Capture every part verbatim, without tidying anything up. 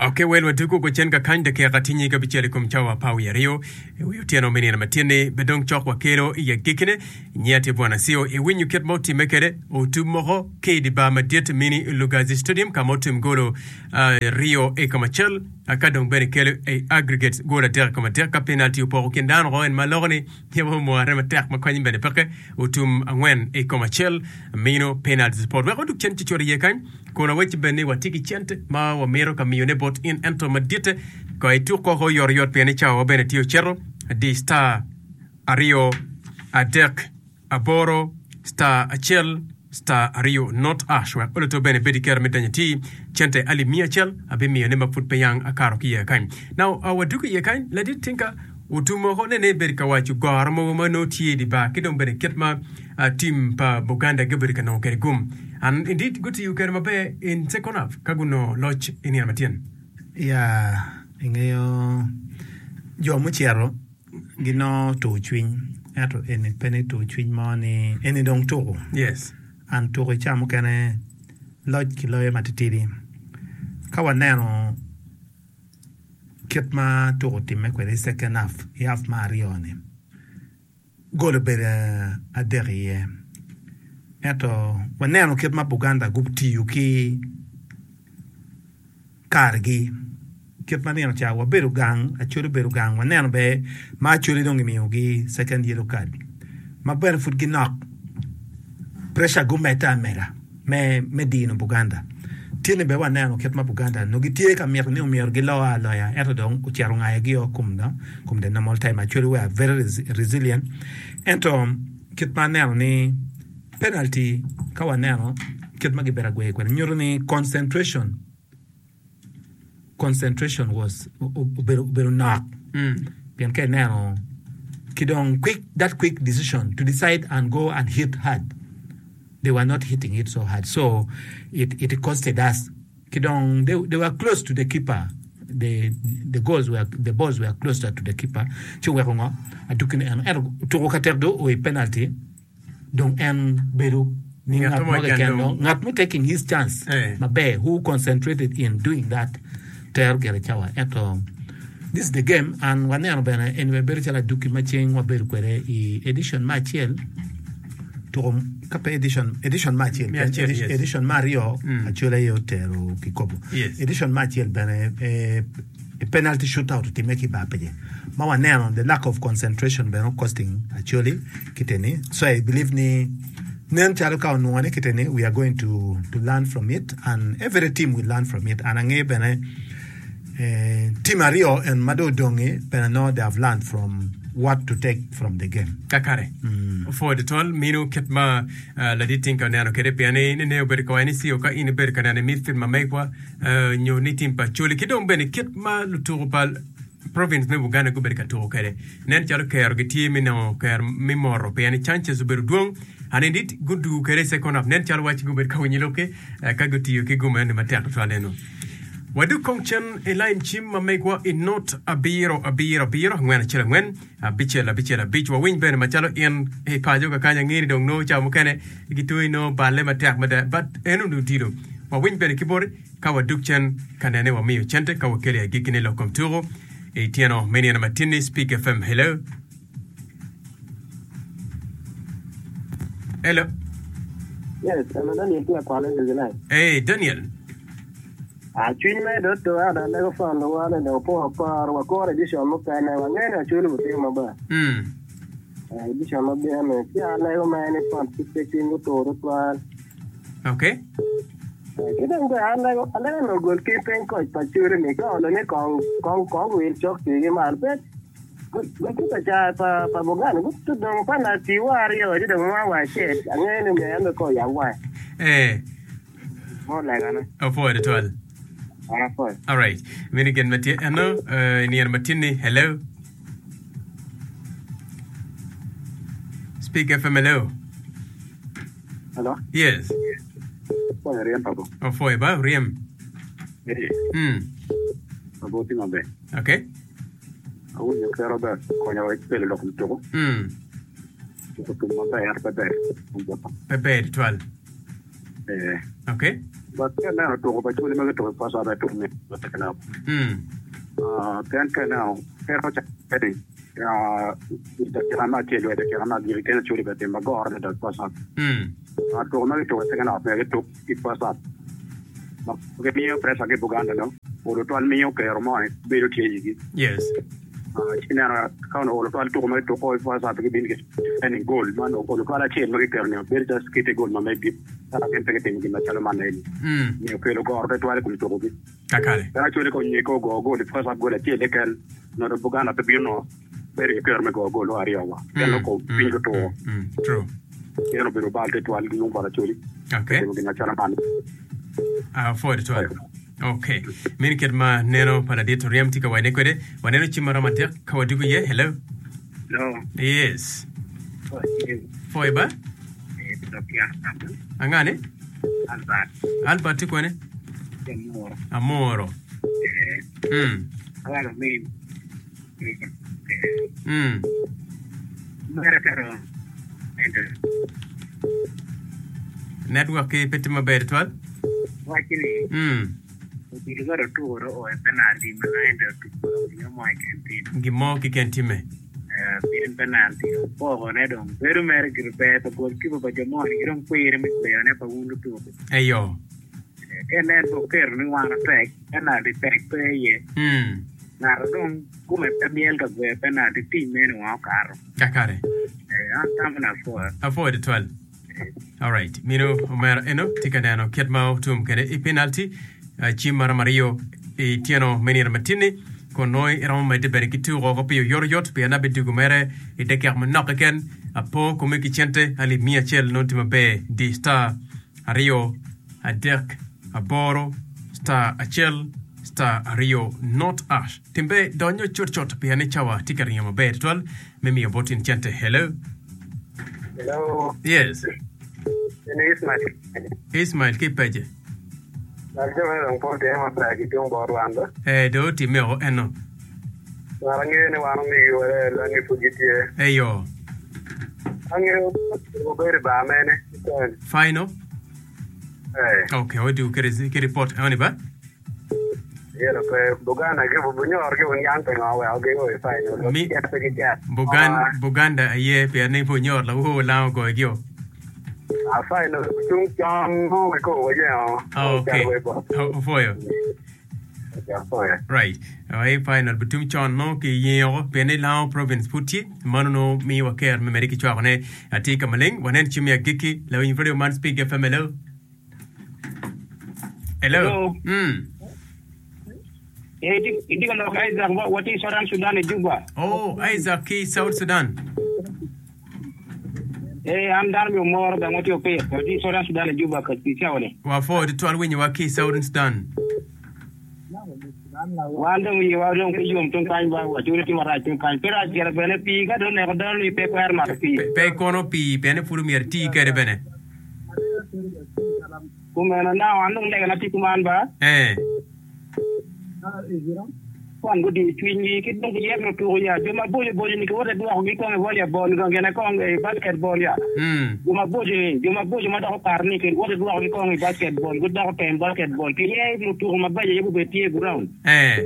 Ok, wel wadugo ko cen ka kany dakika tye nyig abicel i kom cawa apar wiye aryo i wi otyeno me nino matin-ni be dong cok wakelo i agikkine. Nyiya tye Bwana Sio iwinyo kit ma otimme kwede otum moko ki i di bar madit mini Lugazi Stadium ka ma otum golo aryo i kom acel ka dong bene kelo i aggregate gol adek i kom adek ka penalty opoko kin dano oko en ma loko ni Yabo omware matek ma konye bene peke otum angwen i kom acel mino penalty spot wek odug cen cucut iye kany kun awecci bene ni watye ki cente ma wamito ka miyone bot in ento maditte ko ituk koko oyotoyot pien ni cawa wa bene tye ocito di star aryo adek aboro star acel star aryo not ash wek oloto bene ibed ki kero me donyo ati cente alip miya acel abimiyone ma pud pe yang akato ki iye kany. Now wadwogo iye kany ladit tinka otum woko nene ibedo ka waco goro mogo ma nongo tye idi bar ki dong bene kit ma team pa Buganda gubedo ka nongo kwede gum and indeed gutiyo kwede maber in second half ka gunongo loc i nino matyen. Ya ingeyo jo mucito Ginongo tur cwiny, ento eni pe ni tur cwiny mo ni eni dong tuku. Yes. An tuku i ca mukene loc kiloyo matitidi. Ka waneno kit ma tuku otimme kwede i second half, i half me aryo ni, gol obedo adek iye. Ento waneno kit ma Buganda gutiyo ki kargi. Kit ma nino ca wabedo gang, Acholi obedo gang, waneno ber ma Acholi dong gimiyogi second yellow card ma bene pud ginok, pressure gumedde ameda me me dino Buganda. Tye-ni bene waneno kit ma Buganda nongo gitye ka mito ni omyero gilo aloya ento dong ocito ongayogi o kom kom the normal time. Acholi were very resilient ento kit ma aneno ni penalty ka waneno kit ma gibedo agweyo kwede nyuto ni concentration concentration was obedo obedo nok pien ka ineno ki dong quick that quick decision to decide and go and hit hard they were not hitting it so hard so it it costed us ki dong they, they were close to the keeper the the goals were the balls were closer to the keeper ci oweko ngo aduki ni eno ento tuko ka tek dong o i penalty dong en bedo ni ngat mo keken dong ngat mo taking his chance maber who concentrated in doing that tero gire cawa ento this is the game and waneno bene eni bene bedo calo aduki ma ceng wabedo kwede i edition me acel tuko ka pe edition edition me acel edition me aryo Acholi aye otero kikopo edition me acel bene I penalty shootout otimme ki i bar pece ma waneno the lack of concentration bene costing Acholi kite ni so I believe ni nen calo ka onwongo ni kite ni we are going to to learn from it and every team will learn from it and angeyo bene eh, team aryo en ma dong odongi bene nongo they have learned from what to take from the game. Kakare. Opwoyo tutwal mino kit ma uh, ladit Tinka oneno kwede pien ni nene obedo ka waco ni CO ka in ibedo ka neno i midfield ma megwa nyo ni tim pa Acholi ki dong bene kit ma lutuku pa province me Buganda gubedo ka tuku kwede nen calo kero gitye me nongo kero me moto pien ni chances obedo dwong and indeed gudugu kwede i second half nen calo waci gubedo ka winyo lokki ka gutiyo ki gum eni matek tutwal eno. Wadug kong cen i lain cim ma megwa i not abiro abiro abiro angwen acel angwen abicel abicel abic wawiny bene macalo in i paco kakany ange ni dong nongo cawa mukene gitweyi nongo balle matek mada but en onongo tilo Wawiny bene ki boti ka wadug cen ka nene wamiyo cente ka wakelo i agikkine lok kom tuko i tyeno me nino matinni Speak FM Hello Hello Yes, hello Daniel tye akwalo i July. Hey Daniel. Ah, cwiny me do to ada lego fan do wane do po par wa kore edition mukene wa ngene achulu butimo maber. Mm. Ah, edition mabino ci alego mere ni fan pe cwiny gutur tutwal. Ok. Ki dong bene alego alego ni ogol ki piny koc pa curi ni ka olo ni kong kong kong wil cok tii malo pe gutye ka caa pa pa Buganda gutu dong pa na tii wa aryo ci dong nwa wa acel angeyo ni myero en bene kong oyab wange Eh, mo legane opwoyo tutwal. an apwoyo. Alright. Meno gin ma tye eno eh, i nino ma tin-ni. Hello. Speak FM, hello. Hello. Yes. Opwoyo ryem pa bo. Opwoyo ba oryem. Ee. Mm. Abo tye maber. Okay. Awinyo ki Robert konyo wa kelo lok kom tuku. Mm. Tuku tum maber ento pe ber. Pe ber tutwal. Ee. Okay. But ka ineno tuko pa Acholi ma gituko i first half aye tuko mit i second half. Mm. Ah, pien ka ineno peko ca-ni ah, i dakika me acel wa i dakika me agikki kene Acholi bene timo magoro adada i first half. Mm. Ah, tuko ma gituko i second half myero gituk i first half. Ma gimiyo pressure ki Buganda no, olo twal miyo kero mo ni bedo tye i igi. Yes. Ah, ci ineno ka onongo olo twal tuko ma gituko i first half gibino ki defending goal ma onongo olo twal acel ma giketo ni bedo calo kite goal ma megi ka gin pe gitimo gin macalo man eni. Mm. Miyo kelo goro tutwal i kom tukogi. Kakare. En actually ka onye ka ogo gol i first half gol acel keken nongo Buganda pe bino bedo ki kero me goyo gol aryo wa. Pien Mm. nongo Mm. piny otwo. Mm. Mm. True. En obedo bal tutwal ki yung bot Acholi. Okay. Timo gin macalo man. Uh, forward twal. Okay. Mini kit ma neno pa ladit oryem tye ka wacne kwede. Waneno cim maromo adek ka wadugo iye. Hello. Hello. Yes. Foy ba? Angane? Albert. Albert tye kwene? Amoro. Amoro. Eh, Mm. awalo min. Mm. Mere pero ento Network ki pe tye maber twal. waci ni Mm. odilo ka otuko o e penalty ma ento otuko gino mo keken tin. Gin mo keken timme. Eh, pien penalty opoko ne dong bedo mere gir ber pa goalkeeper pa jo moni ki dong kwiri me kweyone pa wun lutuko. Eyo. Eh, ka inen pe oketo ni wan otek, penalty tek pe iye. Mm. Ng'ato dong kome pe myel ka gweyo penalty team meno wa okato. Kakare. Eh, an tamo na apwoyo. Apwoyo twal. All right. Mino omera eno tye ka neno kit ma otum kede i penalty uh, cim maromo aryo i tyeno me nino matin-ni kun nongo iromo medde bene ki tuko oko pi oyotoyot pien abidugo mere i dakika manok keken apo kome ki cente alip miya acel nongo tye maber di star aryo adek aboro star acel star aryo not ash timbe donyo cutcut pien ni cawa tye ka ringo maber tutwal me miyo bot in cente. Hello. Hello, Yes. ini Ismail. Ismail ki peje. Dok jo me dong pol tye maber ki tung bot wan ba. Eh, do timme o eno. Ngat angeyo ni wan omigi wele langi pud gitye. Eyo. Angeyo obedo i bar mene. Iten. Final. Eh, Okay, wadu ki ki report eni ba. yelo pe Buganda ki bunyor ki bunyang pe ngo weko gigo i final. Mi Pe gicet. Bugan Buganda aye pien ni bunyor la wo la go gio. A final tung chon mo ki ko wajengo. Okay. Ofoyo. Right. Ai final bitum chon no ki yeo pien ni Lao province put tye mano no mi wa ker me meri ki chwako ne ati ka maleng wanen chimi agiki la winyo radio man speak F M hello. Hello. Hello. Mm. Eh, iti ka lok Isaac, wati Southern Sudan i Juba. Oh, Isaac ki South Sudan. Eh, an dano mi omoro bene wati opir. Wati Southern Sudan i Juba ka ki cawa-ni. Wa fo twal winyo wa ki Southern Sudan. Wan dong iwa dong ki yom tung kany ba wacuri timo rac tung kany. Pe rac gire bene pii ka dong neko dano ni pe kwer mato pii. Pe, pe kono pii pien pud myero tii kede bene. Kumeno na an dong legana tye kuman ba. Eh. Kwan gudi cwinygi ki dong giyero lutuko ya. Jo maboco boco ni kiwote dwokogi kong i volleyball gine kong i basketball ya. Mm. Jo maboco ni, jo maboco ma dok okato ni kiwote dwokogi kong i basketball, gudoko tem basketball. Kiye lutuko mabeco aye gubed tye i ground. Eh.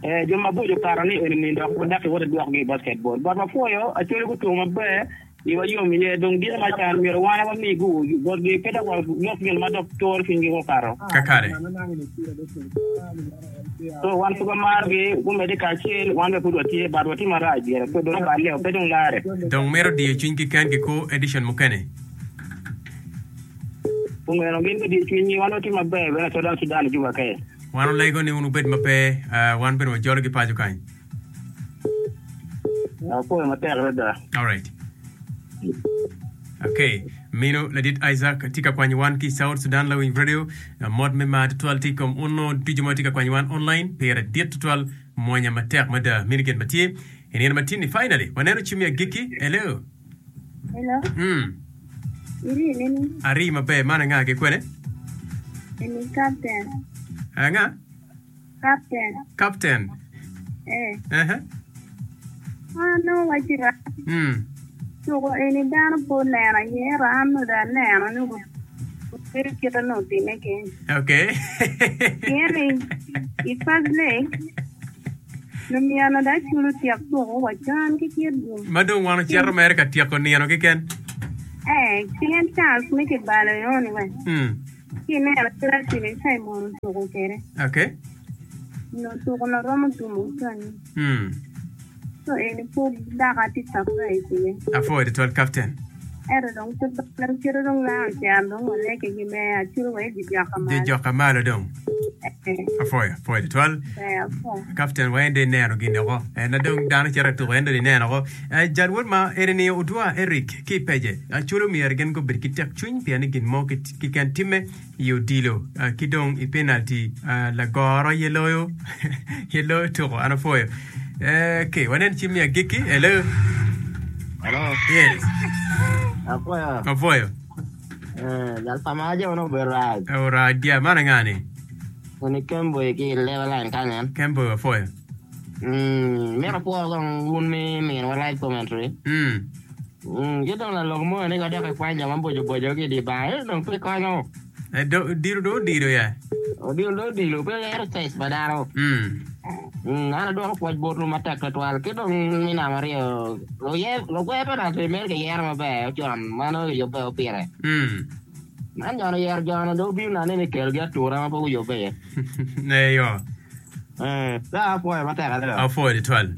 Eh, jo maboco okato ni eni ni dok dok kiwote dwokogi i basketball. But wapwoyo Acholi gutuko maber iwa yom iye dong dito macan myero wan wami gu botgi pe dok walok gin ma dok turo cwinygi gukato. Kakare. So wan pud wamargi gumedde kacel wan bene pud watye but watye marac gire pe dong oballe pe dong lare. Dong mito diyo cwinygi kengi ku edition mukene. Kumeno gin gudiyo cwinygi wan watye maber bene Southern Sudan Juba ke. Wan olego ni wun wubed maber uh, wan bene wajolo ki paco kany. Apwoyo matek adada. All right. Okay. Mino ladit Isaac tye ka kwanyo wan ki South Sudan Lawiny Radio uh, mot me mar tutwal tye i kom uno ducu ma tye ka kwanyo wan online pire dit tutwal mwonya matek mada mino gin ma tye i nino ma tye ni finally waneno cim i agikki. Hello. Hello, Mm. iri nini? Ari maber man anga ki kwene? Ini captain. Anga? Captain. Captain. Eh. Uh-huh. Ah, no, wachira. Mm. Tuko ini dano po neno aye, ero an oda neno ni Bedo kite nongo time keny. Okay. Pien i first leg, lumyana da culo tyek tuko wa can ki kit gum. Ma dong wan ocito mere ka tyeko nino keken. Eh, pien chance me kibalo eno-ni we. Mm. Ki ineno kit acwili Simon otuko kwede. Okay. Nyo tuko na romo tumo canyi. Mm. So eni pud dok atye surprise iye. Apwoyo tutwal Captain. Ento dong pe bal kite dong laa ocer dong waleke ki me acwili wa i joka malo. Joka malo dong. Eh. Apwoyo, apwoyo tutwal. Ber, apwoyo. Captain wa en dong ineno gin oko. En na dong dano cito i tuko en dong ineno oko. Eh, jal wod ma eni ni odwa Eric ki i pece. Acwali omyero gin gubed ki tek cwiny pien ni gin mo kiken timme i odilo ki dong i penalty lagoro aye loyo aye loyo tuko an apwoyo. Okay, wanen cim me agikki. Hello. Hello. Yes. Apwoyo. Apwoyo. Eh, jal pa ma ajo no obedo rac. Orac dia man anga ni? Eni Kemboy ki leba line kany en. Kemboy apwoyo. Mm, mito apwoyo kong wun mi miniwa live commentary. Mm. Mm, ki dong lalok mo ni ka dok ikwany jo ma boco boco ki i dye bar, ento dong pe konyo. Eh, do, odilo dong odilo ya. Odilo dong odilo, pe ero size pa dano. Mm. Mm, an adwoko pwoc botwu matek twatwal. Ki dong mi namba aryo, luye, lugwe penalty mere kiyero maber ocon, ma nongo kiyubbe opire. Mm. Man jon oyero jo-ni dong obino nane ni kelgi atura ma pe guyubbe iye. Eyo. Eh, dong apwoyo matek adada. Apwoyo twatwal.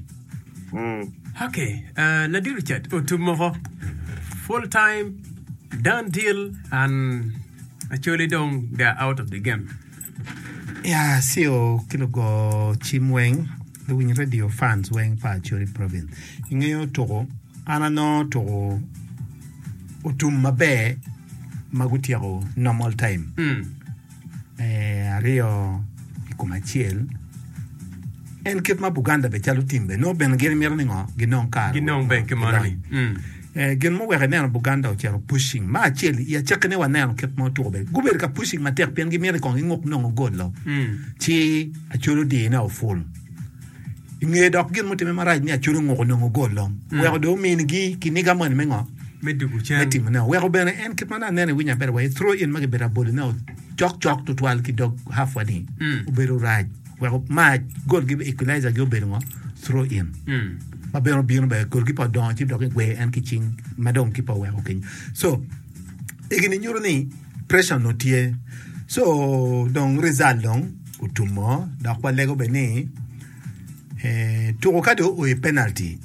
Mm. Okay, uh, Ladit Richard otum moko full time done deal and actually dong they are out of the game. Ya, C O ki lugo cim weng, luwiny radio fans weng pa Acholi Province. Ingeyo tuko, an anongo tuko otum maber ma gutyeko normal time. Mm. Eh, aryo i kom acel. En kit ma Buganda be calo tim be nongo bene gin mito ni ngo ginong kare Ginong be ki mono ni. gilony. Mm. Eh, gin muweko ineno Buganda ocito pushing ma acel i acakkine waneno kit ma otuko be gubedo ka pushing matek pien gimito ni kong ginguk nongo gol-lo Mm. ci Acholi odine o full i nge dok gin mutime marac ni Acholi onguko nongo gol-lo weko dong ominigi kiniga moni me ngo Me dugu me cen. timone weko bene en kit ma nongo aneno iwinyo aber wa i throw in ma kibedo abolone o cok cok tutwal ki dog half wa ni Mm. obedo rac weko ma gol gi equalizer gi obedo ngo throw in Mm. ma bene obino bene gol ki pa odongo ci dok igwe en ki cing ma dong ki pa oweko keny so egini nyuto ni pressure no tye so dong result dong otumo dok walego bene ni eh, tuko ka dong oo i penalty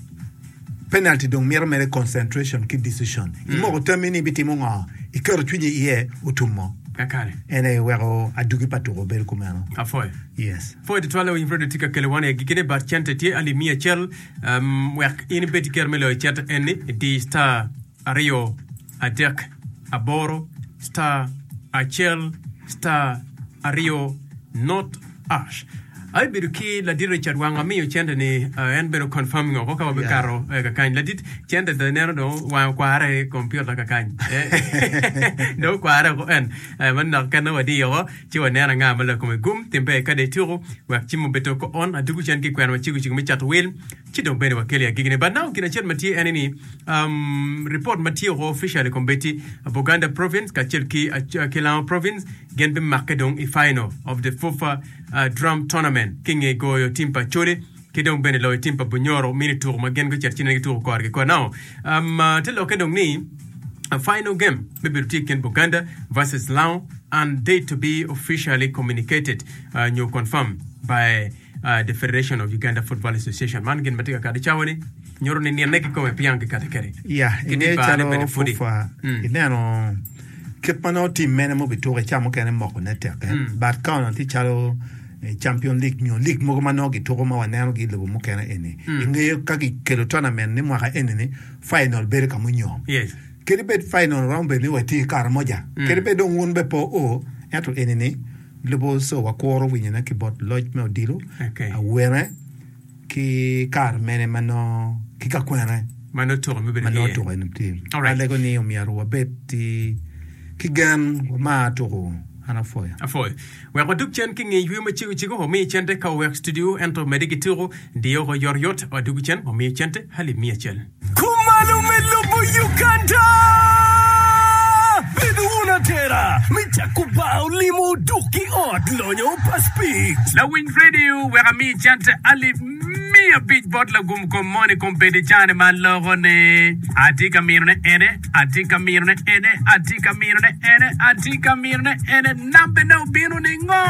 penalty dong mito mere concentration ki decision imoko tammi ni ibitimo ngo iketo cwinyi iye otumo Kakare. en aye weko adugi pa tuko bedo kumeno. Apwoyo. Yes. Pwoyo tutwal lawiny Radio tye ka kelo wan i agikkine but cente tye alip miya acel um, wek in ibed ki kero me loyo cente eni di star aryo adek aboro star acel star aryo not ash. Abibedo ki ladit Richard Wang amiyo cente ni uh, en bedo confirming oko ka wabikato yeah. eh, kakany. Ladit cente dong ineno dong wango kware i computer kakany. Eh, dong okware oko en. Eh, manok kene wadiyo oko ci waneno anga ma lakome gum timbe ka dong ituko wek cim obed ko on adugu cen ki kwena macego cego me cato wil ci dong bene wakelo i agikine. But now gin acel ma tye ene ni um, report ma tye oko officially kombeddi Buganda province kacel ki, uh, ki Lango province gin bimakke dong i final of the FUFA uh, drum tournament ki nge goyo tim pa Acholi ki dong bene loyo tim pa Bunyoro mini tuko ma gin gucito cine gituko korgi kor. Now um, uh, te lokke dong ni a final game bibedo tye i kin Buganda versus Lango and date to be officially communicated uh, nyo confirmed by uh, the Federation of Uganda Football Association. Man gin ma tye ka kado i cawa ni nyuto ni nine kikome piang kikate kede. Ya, Ki ingeyo di barne calo bene pudi. FUFA, Mm. ineno kit ma nongo tim mene mubituko i ca mukene mokone tekke Mm. but ka onongo tye calo eh, champion league nyo league mogo ma nongo gituko ma waneno gi i lobo mukene eni Mm. ingeyo ka gikelo tournament ni mwaka eni ni final bedo ka munyom Yes. kadi bed final romo bedo ni watye i kare moja Mm. kadi bed dong wun be po o ento eni ni lubo so wakuro winyone ki bot loc me odilo Okay. awene ki kare mene ma nongo ki ka kwene Ma nongo tuko me bedo ma nongo iye. tuko eni tye Alright. alego ni omyero wabed ti ki gen wamar tuko an apwoyo. Apwoyo. Wek wadug cen ki nge yweyo macego cego wamiyo cente ka owek studio ento medde ki tuko diyo oko yotoyot wadugu cen wamiyo cente alip miya acel. Kumalo me lobo Uganda! Bedo wun atera me cako bar olimo duk ki ot lonyo pa Speke. Lawiny radio wek ami cente alip miya abic bot lagum kom moni kom bedo i cane ma loko ni atye ka minone ene atye ka minone ene atye ka minone ene atye ka minone ene nambene obino ni ngo?